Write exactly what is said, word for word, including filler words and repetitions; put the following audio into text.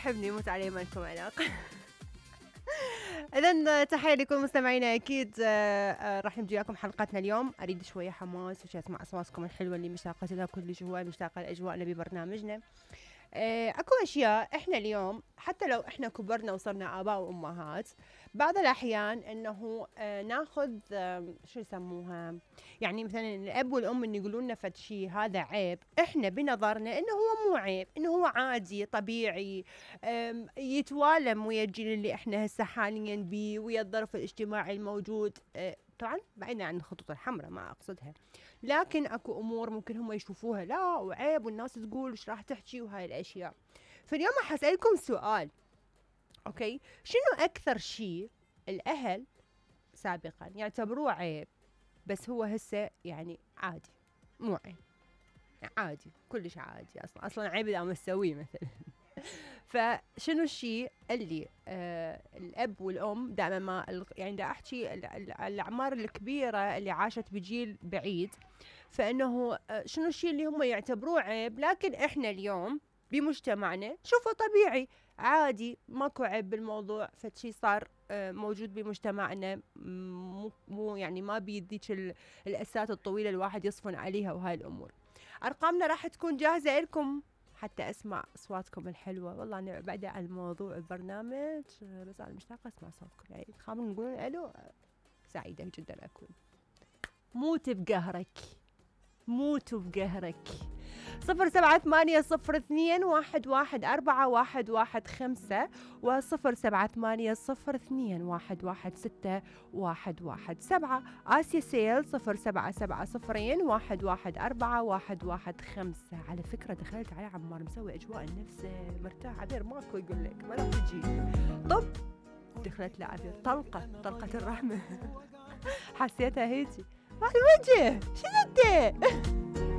يحبني يموت عليه ما لكم علاقة. إذن تحية لكل مستمعينا أكيد. راح نجي لكم حلقتنا اليوم. أريد شوية حماس وشي أسمع أصواتكم الحلوة اللي مشتاقة لها كل جوا، مشتاقة لأجواءنا ببرنامجنا. اكو اشياء احنا اليوم حتى لو احنا كبرنا وصرنا اباء وامهات، بعض الاحيان انه اه ناخذ اه شو يسموها، يعني مثلا الاب والام ان يقولون لنا فد شيء هذا عيب، احنا بنظرنا انه هو مو عيب، انه هو عادي طبيعي، يتوالم ويا الجيل اللي احنا هسه حاليا بيه ويا الظرف الاجتماعي الموجود. اه طبعا بعيدا عن الخطوط الحمراء ما اقصدها، لكن اكو امور ممكن هم يشوفوها لا وعيب والناس تقول ايش راح تحكي وهاي الاشياء. فاليوم راح اسالكم سؤال، اوكي؟ شنو اكثر شيء الاهل سابقا يعتبروه عيب بس هو هسه يعني عادي، مو عيب، عادي كلش عادي، اصلا اصلا عيب اذا ما تسويه مثلا. فشنو الشيء اللي آه الاب والام دائما ما يعني دا احكي الاعمار الكبيره اللي عاشت بجيل بعيد، فانه آه شنو الشيء اللي هم يعتبروه عيب لكن احنا اليوم بمجتمعنا شوفوا طبيعي عادي، ماكو عيب بالموضوع، فشي صار آه موجود بمجتمعنا، مو مو يعني ما بيديك الاسات الطويله الواحد يصفن عليها وهاي الامور. ارقامنا راح تكون جاهزه لكم حتى اسمع اصواتكم الحلوه. والله انا بعد عن موضوع البرنامج بس انا مشتاقه اسمع صوتكم، يعني خلينا نقول الو. سعيده جدا اكون. موت بقهرك، موت بقهرك. صفر سبعة ثمانية صفر اثنين واحد واحد أربعة واحد واحد خمسة وصفر سبعة ثمانية صفر اثنين واحد واحد ستة واحد واحد سبعة. آسيا سيل صفر سبعة سبعة صفرين واحد واحد أربعة واحد واحد خمسة. على فكرة دخلت على عمار مسوي أجواء النفس مرتاح، عبير ماكو يقول لك ما راح تجي. طب دخلت لعبير طلقة طلقة الرحمة. حسيتها هيجي على الوجه. شنو انت؟